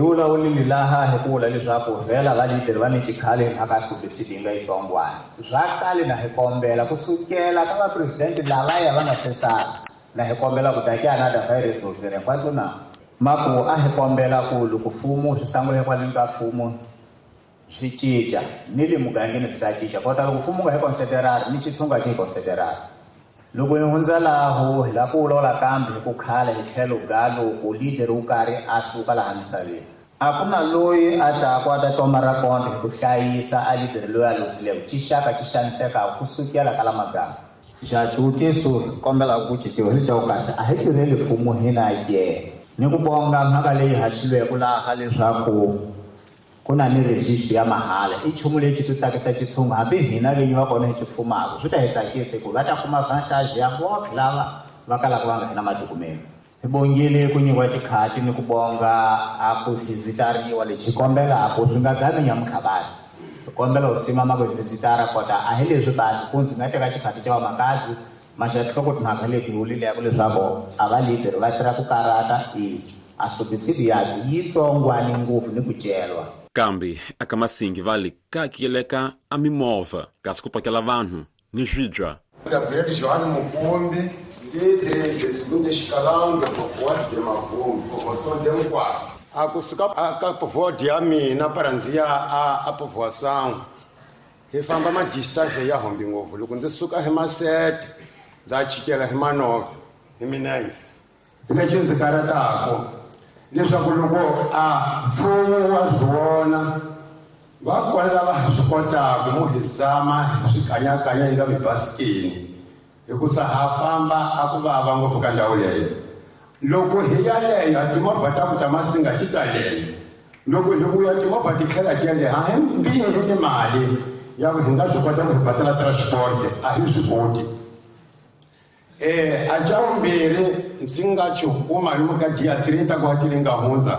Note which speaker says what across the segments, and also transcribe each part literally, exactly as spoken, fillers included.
Speaker 1: Hi vulavulile laha hi ku vula leswaku vhela va leader va ni xikhale hi mhaka subsidy yi nga yitsongwana swa kale na hi kombela kusukela ka vapresidente lavaya va nga se sala na hi kombela ku ta ke another virus resolver hinkwato na maku a hi kombela ku loko mfumo swi sangula hikwaleni ka mfumo swi cinca ni le mugangeni swi ta cinca kota loko mfumo nga hi considerari ni xitshungu a xi hi considerari. Loko hi hundza laho hi lava ku vulavula kambe hi ku khala hi tlhelo ga loko leader wo karhi a suka laha misaveni a ku na loyi a taku a ta toma ra kona hi ku hlayisa a leader loyi a luzileko xixaka xi xanisekaka kusukela ka la maganga. Xa xivutiso hi kombelaka ku cinciwa hi leswaku kasi a hi tirheli mfumo hina ke ni ku bonga mhaka leyi haxilweke laha leswaku ku na ni registry ya mahala i nchumu lexi ti tsakisa xitshungu hambi hina vinyi va kona hi xi fumaka swi ta hi tsakisa hikuva va ta kuma vantage ya botlhe lava va kalaka va nga ri na madokumende. Hi bongile ku nyikiwa xikhati ni ku bonga a ku vhizitariwa lexi hi kombelaka swi nga gami nyamuntlha basi hi kombela u simama ku vhizitara kota a hi leswi basi ku ndzi nga teka xikhati xa vamakazi maxatlhoko timhaka leti hi vulileko leswaku a va leader va tirha ku karata i a subsidy ya yitsongwani ngopfu ni ku celwa.
Speaker 2: Kambe aka Masingi vale kakeleka a mimovha kasi ku pakela vanhu ni swibya.
Speaker 3: Gabriel João Mukumbi, ndi treze segundo escalão do povoado de Mavungo, povoação de Nkwara. A kusuka ka povoado ya mina para ndzi ya a, a povoação hi famba ma distance ya hombi ngopfu loko ndzi suka hi masete ndza chikela hi manove hi minenge lexi ndzi karatako leswaku loko a mfumo wa swi vona va kona lava swi kotaka mo hi zama swikanyakanya yi nga mibasikini hikusa ha famba a ku vava ngopfu ka ndhawu leyo loko hi yaleyo timovha ta ku ta Masinga ti talele loko hi vuya timovha ti tlhela ti yaleyo a hi mbirhi ni mali ya ku hi nga swi kota ku hi badala transport a hi swi koti. Eh a xa vumbirhi ndzi nga xi kuma lomu ka dia trinta ku hatile nga hundza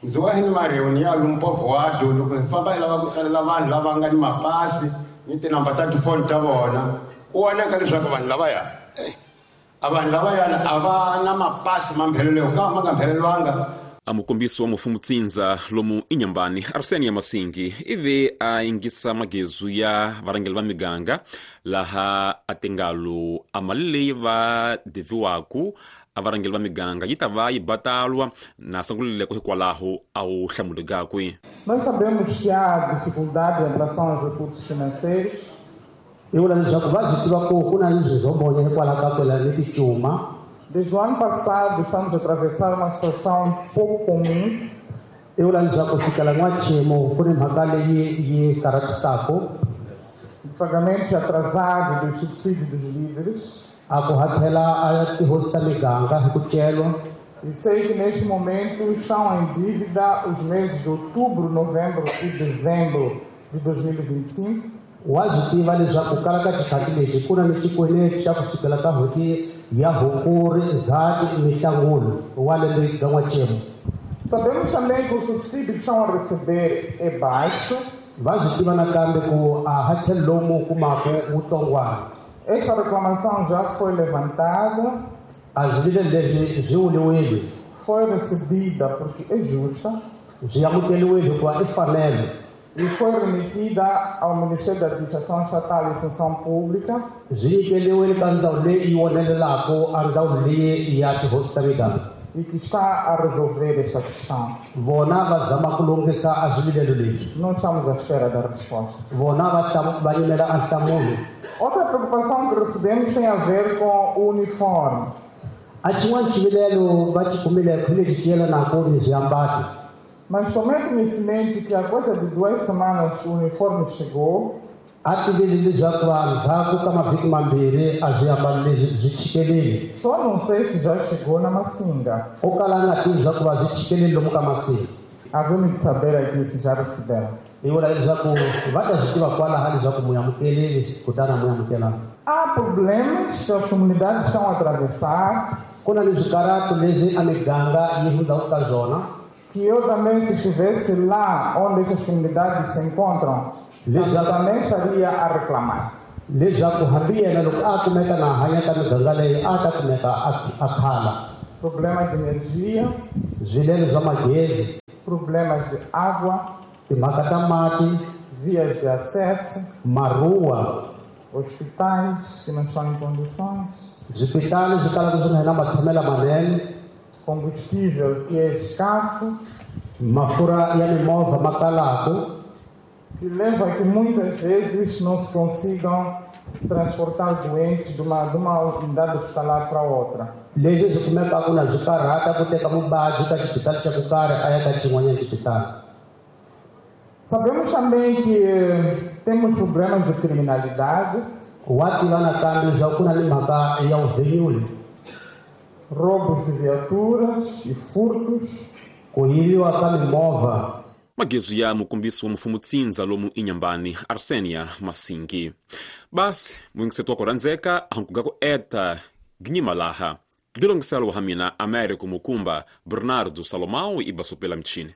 Speaker 3: ndzi wa hi ni mareuni ya lomu povoado loko hi famba hi lava ku tsalela vanhu lava nga ni mapasi ni tinamba ta tifoni ta vona ku vonaka leswaku vanhu lavaya a vanhu lavayana a va na mapasi ma mphelelo ka ma nga mphelelwanga.
Speaker 2: A mukombisi wa mufumo tsindza lomu inyambani Arsenia ya Masingi ivi a ingisa magezu ya varhangeri va miganga laha a tingalo a mali leyi va deviwaku a varhangeri va miganga yi ta va yi batalwa na sangulileko hikwalaho a wu hlamulekakwe.
Speaker 4: Nós sabemos que há dificuldade em relação aos recursos financeiros.
Speaker 5: Hi vula leswaku va swi tiva ku ku na leswi hikwalaho ka kwela ni ticuma.
Speaker 4: Desde o ano passado estamos a atravessar uma situação pouco comum.
Speaker 5: I vula leswaku fikela n'waxemu ku ni mhaka leyi yi karhatisaka.
Speaker 4: O pagamento atrasado dos subsídios dos líderes.
Speaker 5: A ku hakela a tihosi ta miganga hi ku celwa.
Speaker 4: E sei que neste momento estão em dívida os meses de outubro, novembro e dezembro de dois mil e vinte e cinco.
Speaker 5: Wa swi tiva leswaku kala ka xikhathi lexi ku na ni xikweleti xa ku sukela ka n'hweti ya Hukuri, Ndzhati ni Nhlangula wa lembe ga n'waxemu.
Speaker 4: Sabemos também que o subsídio que estão a receber é baixo.
Speaker 5: Va swi tiva nakambe ku a hakelo lowu mu kumaka wutsongwana.
Speaker 4: Esta reclamação já foi levantada.
Speaker 5: A swivilelo leswi swi vuliwile.
Speaker 4: Foi recebida porque é justa.
Speaker 5: Swi amukeriwile hikuva i fanelo.
Speaker 4: E foi remetida ao Ministério da Administração Estatal e Função Pública.
Speaker 5: Swi nyikeriwile ka ndzawulo leyi yi vonelelaka a ndzawulo leyi ya tihosi ta miganga.
Speaker 4: E que está a resolver esta questão.
Speaker 5: Vona va zama ku lunghisa a swivilelo leswi.
Speaker 4: Não estamos à espera da resposta.
Speaker 5: Vona va va yimela a nhlamulo.
Speaker 4: Outra preocupação que recebemos tem a ver com o uniforme.
Speaker 5: A xin'wana xivilelo va xi kumile hi lexi xi yelanaka ni swiambalo.
Speaker 4: Mas tomei conhecimento que há coisa de duas semanas o uniforme chegou.
Speaker 5: A tivile leswaku ndzhaku ka mavhiki mambirhi a swiambalo leswi swi chikelile.
Speaker 4: Só não sei se já chegou na Massinga.
Speaker 5: O kala a nga tivi leswaku va swi chikelile lomu ka Massinga.
Speaker 4: Havemos de saber aqui se já receberam.
Speaker 5: Hi vula leswaku va ta swi tiva kwalaha leswaku mu amukelile kutani a mu amukelanga.
Speaker 4: Há problemas que as comunidades estão a atravessar.
Speaker 5: Ku na ni swikarato leswi a miganga yi hundzaka ka swona.
Speaker 4: Que eu também, se estivesse lá onde essas comunidades se encontram, eu também estaria a reclamar.
Speaker 5: Leswaku hambi yena loko a kumeka na hanya ka miganga leyi a ta kumeka a khala.
Speaker 4: Problema de energia,
Speaker 5: swivilelo swa magezi,
Speaker 4: Problemas de água,
Speaker 5: timhaka ta mati,
Speaker 4: vias de acesso,
Speaker 5: maruwa,
Speaker 4: hospitais que não estão em condições,
Speaker 5: swipitali swi kalaka swi nga na matshamelo manene,
Speaker 4: combustível que é escasso,
Speaker 5: mafurha ya mimovha ma kalaku,
Speaker 4: que leva a que muitas vezes não se consigam transportar doentes de uma, de uma unidade hospitalar para outra.
Speaker 5: Leswi swi kumekaka na swi karhata ku teka muvabyi ka xipitali xa ku karhi a ya ka xin'wanyana xipitali.
Speaker 4: Sabemos também que temos problemas de criminalidade,
Speaker 5: Wa tiva nakambe leswaku ku na ni mhaka ya vuvhenyuli,
Speaker 4: roubos de viaturas e furtos,
Speaker 5: ku yiviwa ka mimovha.
Speaker 2: Magezu ya mukombisi wa mfumo tsindza lomu Inhambane, Arsenia Masingi. Basi muyingiseti wa ku rhandzeka hankuga ku eta ginyima laha. Gilongiselo wa mina Américo Mukumba, Bernardo Salomão e Basopela Mchini.